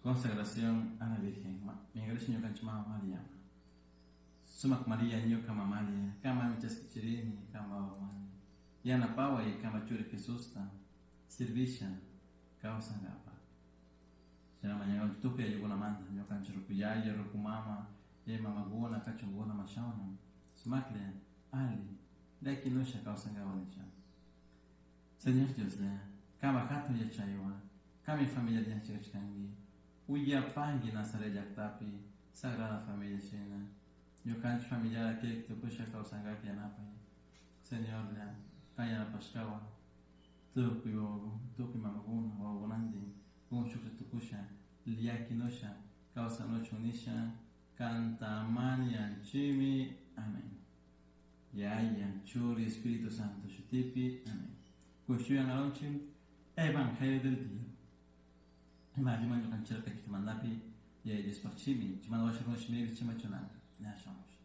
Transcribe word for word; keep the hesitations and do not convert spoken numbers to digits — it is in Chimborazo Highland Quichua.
Consagración a la Virgen. Mingarisha ñukanchik mama María. Sumak María ñuka mamalia, kama michaskichirini, kama wawani. Yanapaway kama churi Jesusta, servisha kawsankapa. Shina mañanchik tukuy ayllunamanta, ñukanchik ruku yaya, ruku mama, yaya mamakuna, kachunkuna mashawna. Sumaklla, ali, llakinusha kawsankapa nisha. Señor Dios, kama hatun yachaywan, kami familia yachachkanki, uyapanki Nazaret llaktapi, Sagrada Familia shina, ñukanchik familiara kirik tukusha kawsankak yanapay. Señorlla, kan yanapashkawan, tukuy tukuy mamakuna, wawakunantin, shuklla tukusha, llakinusha, kawsanuchun nisha, kanta mañanchimi. Amén. Yaya, Churi, Espíritu Santo, shutipi. Amén. Kushuyan alonchim, Evangelio del día. Ima ñukanchirka kitimandapi, yaya Diospaj shimi, chimanda washa shimipi chimachunanka. Ña shamush.